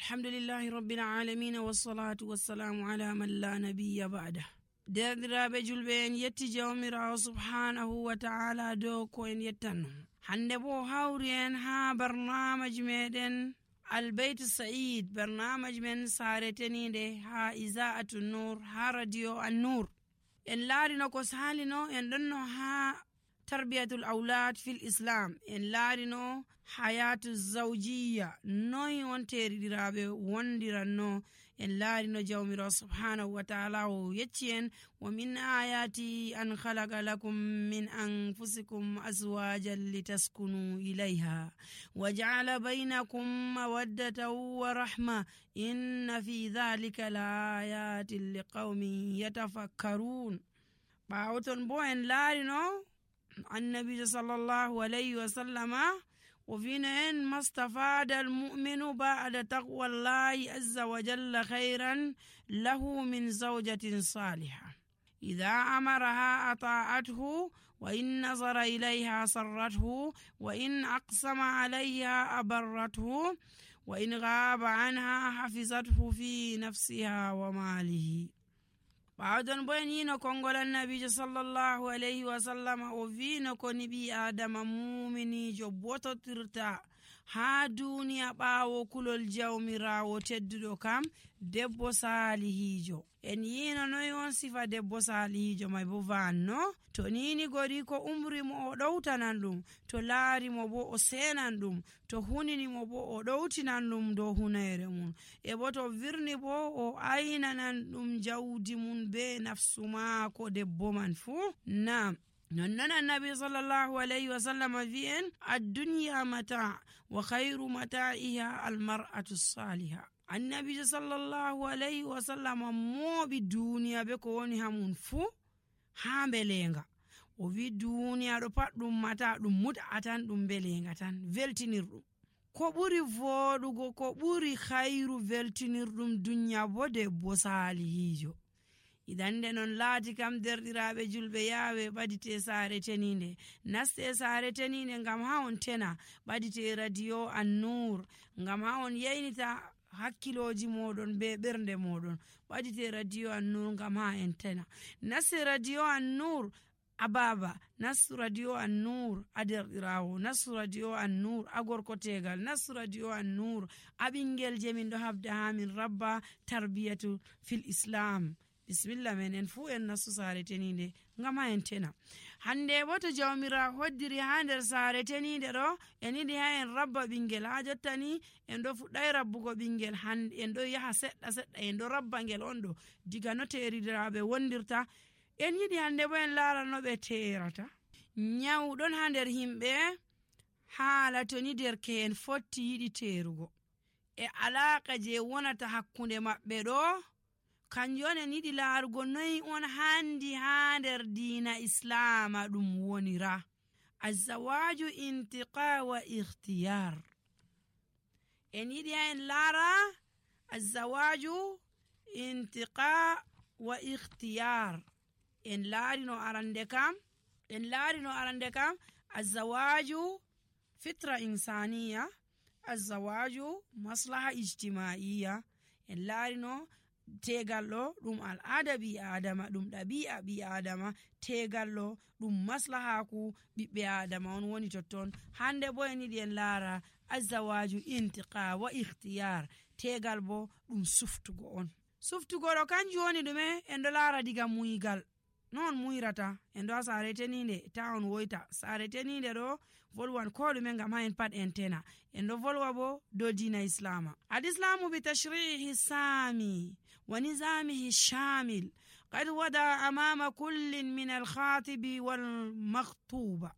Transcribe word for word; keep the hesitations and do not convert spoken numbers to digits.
alhamdulillahi rabbil alamina wassalatu wassalamu ala man la nabiyya ba'da. Derdiraaɓe julɓe, en yetti jawmirawo subhanahu wa ta'ala dow ko en yettanno. Hande bo hawri en ha barnamaji meɗen Albayt Sa'id, barnamaji men saretenide ha Iza'atu Nur, ha radio An-Nur. En laarino ko salino, en ɗonno ha tarbiyatul awlad fil islam, en laarino hayatu zawjiya, noy on teriɗiraɓe wondiranno. En laarino jawmirawo subhanahu wa ta'ala o yecci en wa min ayati an khalaqa lakum min anfusikum azwajan litaskunu ilayha wa ja'ala baynakum mawaddatan wa rahma inna fi dhalika laayatin liqaumin yatafakkarun. Ɓawoton bo en laarino annabi sallallahu alayhi wa sallama وفينا إن ما استفاد المؤمن بعد تقوى الله عز وجل خيرا له من زوجة صالحة إذا أمرها أطاعته وإن نظر إليها سرته وإن أقسم عليها أبرته وإن غاب عنها حفظته في نفسها وماله. Baadon boyenino kongola nabijo sallallahu alayhi wa sallam o vino ko nibi adama muminijo bototirta ha duniya ɓawo kulol jawmirawo tedduɗo kam debbo salihijo. En yino noy on sifa debbo salihijo may bo vanno to nini gori ko umrimo o ɗowtanan ɗum, to laarimo bo o senan ɗum, to huninimo bo o ɗowtinan ɗum dow hunayre mum, e bo to virni bo o aynanan ɗum jawdi mum be nafsu maako debbo man fuu. Naam, nonnon annabi sallallahu alayhi wa sallam wi'en ad-dunya mata wa khayru mata'iha al-mar'atu as-salihah. Annabi sallallahu alayhi wa sallam mooɓi duniya be ko woni hamun fuu ha belenga. O wi duniya ɗo pat ɗum mata, ɗum mut'a tan, ɗum belenga tan, veltinirɗum. Ko ɓuri voɗugo, ko ɓuri khayru veltinirɗum duniya bo debbo salihijo. Idan nde non laati kam derɗiraɓe julɓe, yaawe ɓadite saare teninde, naste saare teninde ngam ha on tena, ɓadite radio An-Nur ngam ha on yeynita hakkiloji moɗon be ɓernde moɗon, ɓadite radio An-Nur ngam ha en tena. Naste radio An-Nur a baba, nastu radio An-Nur a derɗirawo, nastu radio An-Nur a gorkotegal, nastu radio An-Nur a ɓingel je min ɗo habda ha min rabba tarbiyatu fil islam. Bismillah men en fu en nastu saare teninde ngam ha en tena. Hande bo to jawmira hoddiri ha nder saare teninde ɗo, en yiɗi ha en rabba ɓingel, ha jottani en ɗo fuɗɗay rabbugo ɓingel, hande en ɗo yaha seɗɗa seɗɗa, en ɗo rabba ngel on ɗo diga no teridiraɓe wondirta. En yiɗi hande bo en laara no ɓe terata. Nyawɗon ha nder himɓe haala to ni derke'en fotti yiɗi terugo, e alaka je wonata hakkunde maɓɓe ɗo kanjum on en yiɗi laarugo noy on handi ha nder diina islama ɗum wonira. Azawaju intiqa wa ikhtiyar. En yiɗi ha en laara azawaju intiqa wa ikhtiyar. En laarino arande kam, en laarino arande kam azawaju fitra insaniya, azawaju maslaha ijtimaiya. En laarino tegal ɗo ɗum al'ada ɓi adama, ɗum ɗabi'a ɓi adama, tegal ɗo ɗum maslahaku ɓiɓɓe adama on woni totton. Hande bo en yiɗi en laara azawaju intiqa wa ikhtiyar, tegal bo ɗum suftugo on. Suftugo ɗo kanjum woni ɗume? En ɗo laara diga muygal, non muyrata, en ɗo ha saare teninde ta on woyta. Saare teninde ɗo volwan ko ɗume ngam ha en pat en tena. En ɗo volwa bo dow dina islama. Al-islamu bi tashrihi sami wa nizamihi shamil qad wada amama kullin min al-khatibi wal makhtuba.